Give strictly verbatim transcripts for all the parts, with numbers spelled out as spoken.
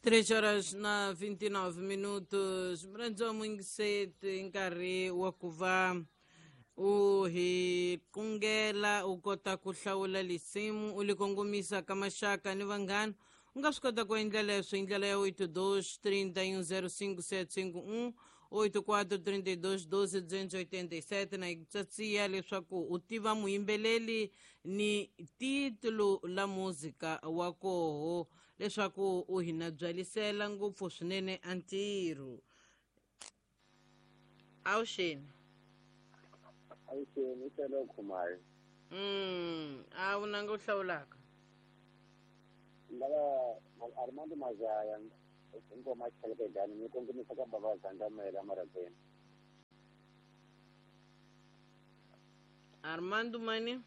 Três horas na vinte e nove minutos. Mrandzo mwingiseti nkarhi wa ku va u hi kungela u kota ku hlawula lisimu u li kongomisa ka maxaka ni vanghana. U nga swi kota ku endla leswo hi ndlela ya oito dois trinta e um zero cinco sete cinco um oito quatro trinta e dois doze duzentos e oitenta e sete na tsatsiya leswaku u tiva muyimbeleli ni titulo la muzika wa koho leswaku u hina byalisela ngopfu swinene a ntirho. Awuxeni. Awuxeni, i Khumayo. Mm, a wu nanga u hlawulaka. Ndava Armando Mazaya ngoma Chelekegani ni kongomisa ka baba Zandamela Marakweni. Armando mani?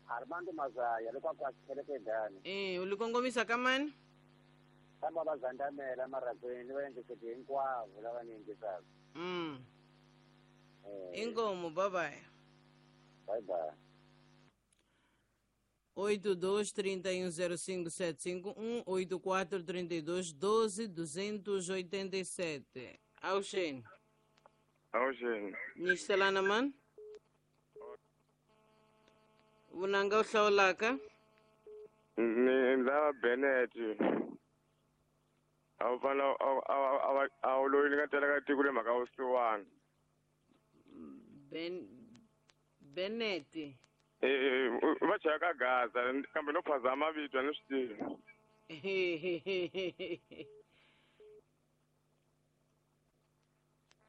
Armando Mazaya loko a Chelekegani. Eh, u li kongomisa ka mani? Ka baba Zandamela Marakweni va endleke hinkwavo lava ni yingisaka. Mm. Inkomo, bye bye. Bye bye. oito dois trinta e um zero cinco sete cinco um, oito quatro trinta e dois doze duzentos e oitenta e sete. Auxene. Auxene. Nistelana man? Vunanga u hlawulaka? Ni ndza Bennett. A wu fana a wu loyi ni nga tela ka tiko le mhaka vusiwana. Ben Bennett. Eh, va chaya ka Gaza kambe no phazama mavito a ni swi tivi.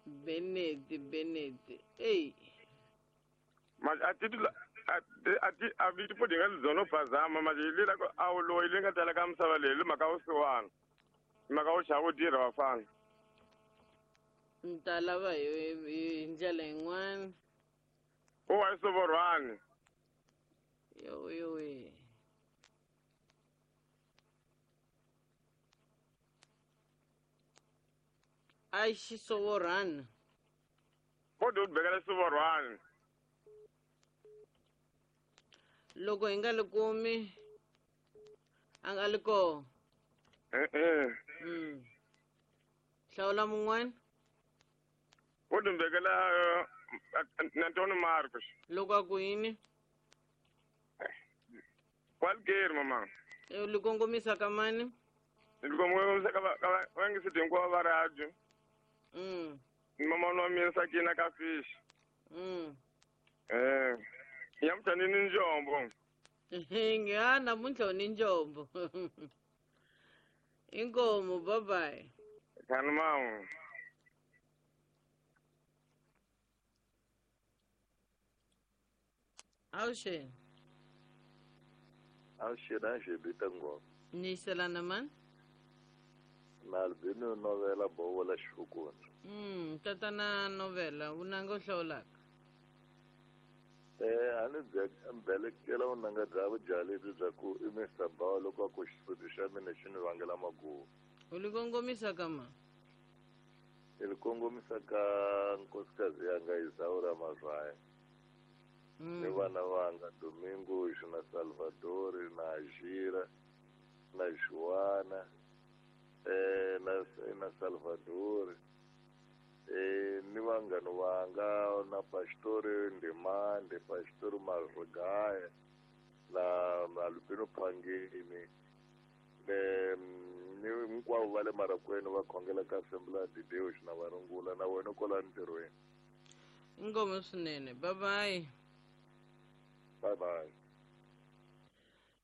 Bennett, Bennett. Ey. Ma a titula a ti a vito po dinga zono phazama ma li la a wu loyi le nga tela ka misava leyi le mhaka vusiwana. Mhaka wu xava tirha vafana. Ni ta lava hi hi ndlela yin'wana. U wa Sovorwani. Yo yo we. Ai Xisovorhwana. Kodwa u bekela Sovorwani. Loko hi nga li kumi a nga li koho. Eh eh. Mm. Hlawula mun'wana. U dumbekela Antonio Marcos. Loko a ku yini? Kwalgeri mama. U li kongomisa ka mani? Ni kongomisa ka ka va ngiseti hinkwavo va radio. Mm. Mama wa mina Sakina ka fish. Mm. Eh. Nyamutlha ni ni njombo. Nga namuntlha u ni njombo. Inkomo, bye bye. Khani mama. Awuxeni. Awuxeni a xebita ngoma. Niselana man? Na Albino novela bovola xifukuni. Mm, tatana novela vunanga u hlawulaka. Eh, a ni belekela vunanga bya vudyalebyi bya ku i Mister Bawa loko a ku xisuti xa mina xi ni vangela maguva. U li kongomisa ka ma? Ni li kongomisa ka nkosikazi yanga Isaura Mazwaya. Mm. Ni vana vanga Domingos na Salvador na Ajira na Joana eh na na Salvador eh ni vanghana vanga na Pastor Ndimande, Pastor Marugaya na Albino Phangeni ne ni hinkwavo va le Marakweni va khongela ka Assembly de Deus na varungula na wena kwala ntirhweni. Inkomo swinene. Bye bye. Bye bye.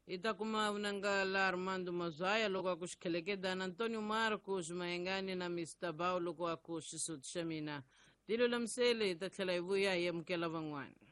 Hi ta kuma vunanga la Armando Mazwaya loko a ku xikhelekedana Antonio Marcos Mayengani na Mister Bao loko a ku xisuti xa mina. Tilulamisele hi ta tlhela hi vuya hi amukela van'wana.